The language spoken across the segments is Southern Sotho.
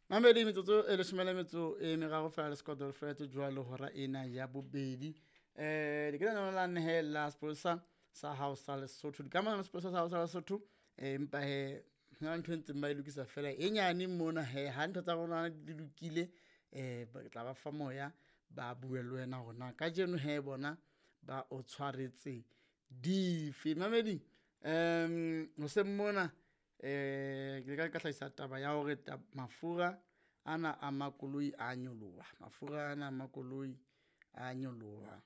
Mamedi, metsotso e leshome le metso e meraro fela le sekoto fetse jwalo hora ena ya bobedi. Di ke la nehela sepolesa sa hao sa Lesotho, dikamano le sepolesa sa hao sa Lesotho. Empa he hona ntho e ntseng ba e lokisa fela e nyane mona he, ha ntho tsa rona di lokile, tla ba fa moya ba bue le wena hore na kajeno he bona ba o tshwaretse dife. Mamedi, hoseng mona ke ile ka hlahisa taba ya hore mafura ana a makoloi a nyoloha, mafura ana a makoloi a nyoloha.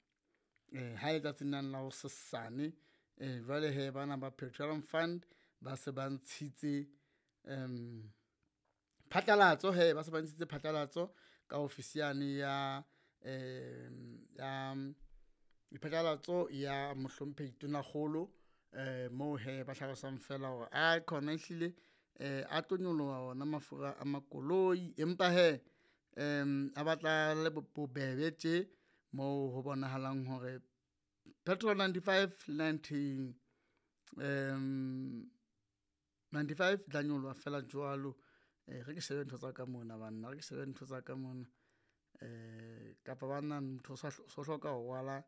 Ha e tsatsing lane la hosesane, jwale hee bana ba Petroleum Fund ba se ba ntshitse phatlalatso hee, ba se ba ntshitse phatlalatso ka ofisi yane ya ya phatlalatso ya Mohlomphehi Tonakgolo. Moo hee ba hlalosang fela hore aikhona ehlile a tlo nyoloha ona mafura a makoloi, empa hee a batla le bobebe tje moo ho bonahalang hore petrol 95 le 95 e tla nyoloha feela jwalo. E re ke shebe ntho tsa ka mona banna, e re ke shebe ntho tsa ka mona. Kapa banna motho o so hloka ho rwala,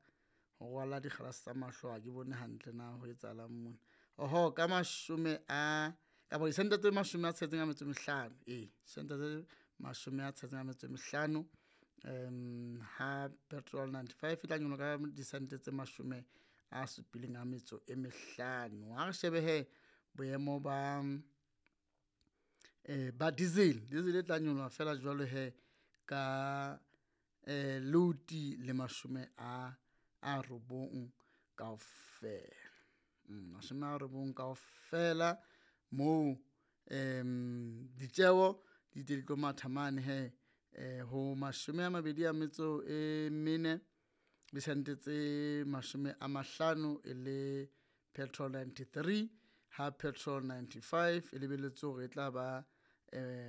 ho rwala dikgalase tsa mahlo ha ke bone hantle na ho etsahalang mona. Oho ka mashome a kapa disente tse mashome a tsheletseng a metso e mehlano, ee sente tse mashome a tsheletseng a metso e mehlano. Ha petrol 95 e tla nyoloha ka disente tse mashome a supileng a metso e mehlano. Ha re shebe hee boemo ba diesel, diesel e tla nyoloha feela jwalo hee ka loti le mashome a robong kaofela. Mashome a robong kaofela moo ditjeho di di tlo matha mane hee ho mashome a mabedi a metso e mene disente tse mashome a mahlano e le petrol 93, ha petrol 95 e lebelletswe hore e tla ba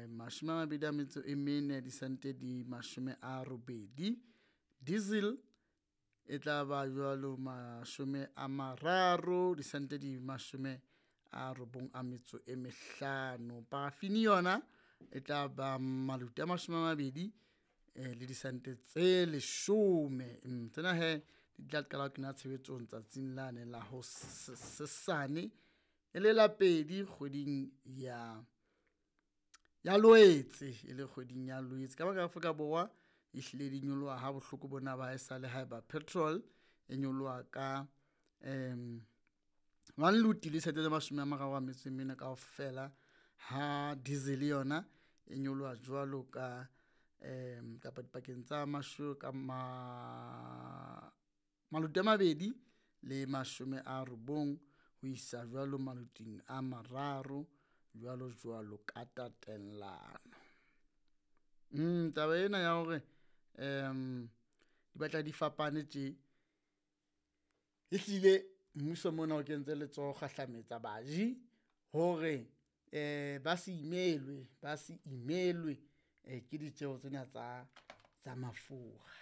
mashome a mabedi a metso e mene disente di mashome a robedi. Diesel e tla ba jwalo mashome a mararo disente di mashome a robong a metso e mehlano. Paraffin yona e tla ba maluti a mashome a mabedi le disente tse leshome. Tsena hee di tla qala ho kena tshebetsong tsatsing lane la hosesane e le la pedi kgweding ya Loetse, e le kgweding ya Loetse. Ka baka Afrika Borwa ehlile di nyoloha ha bohloko bona ba haesale haeba petrol e nyoloha ka one luti le sente tse mashome a mararo a metso e mene kaofela, ha diesel yona e nyoloha jwalo ka kapa dipakeng tsa maluti a mabedi le mashome a robong ho isa jwalo maluting a mararo jwalo jwalo ka tatellano. Taba ena ya hore di batla di fapane tje, ehlile mmuso mona o kentse letsoho kgahlametsa baji hore ba se imelwe, ba se imelwe ke ditjeho tsena tsa mafura.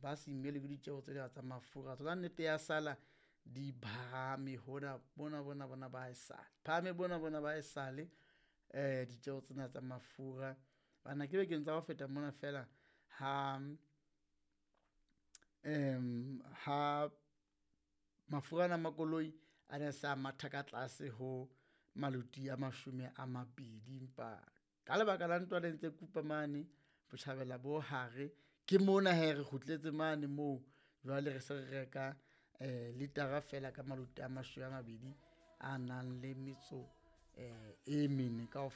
Ba se imelwe ke ditjeho tsena tsa mafura. Tsona nnete ya sala di phahame hona bona bona bona ba haesale, phahame bona bona ba haesale ditjeho tsena tsa mafura. Bana ke bekeng tsa ho feta mona feela ha ha mafura ana a makoloi a ne sa matha ka tlase ho maluti a mashome a mabedi, empa ka lebaka la ntwa le ntse kupa mane botjhabela bo hare, ke mona hee re kgutletse mane moo jwale re se re reka litara fela ka maluti a mashome a mabedi a nang le metso e mene kaofela.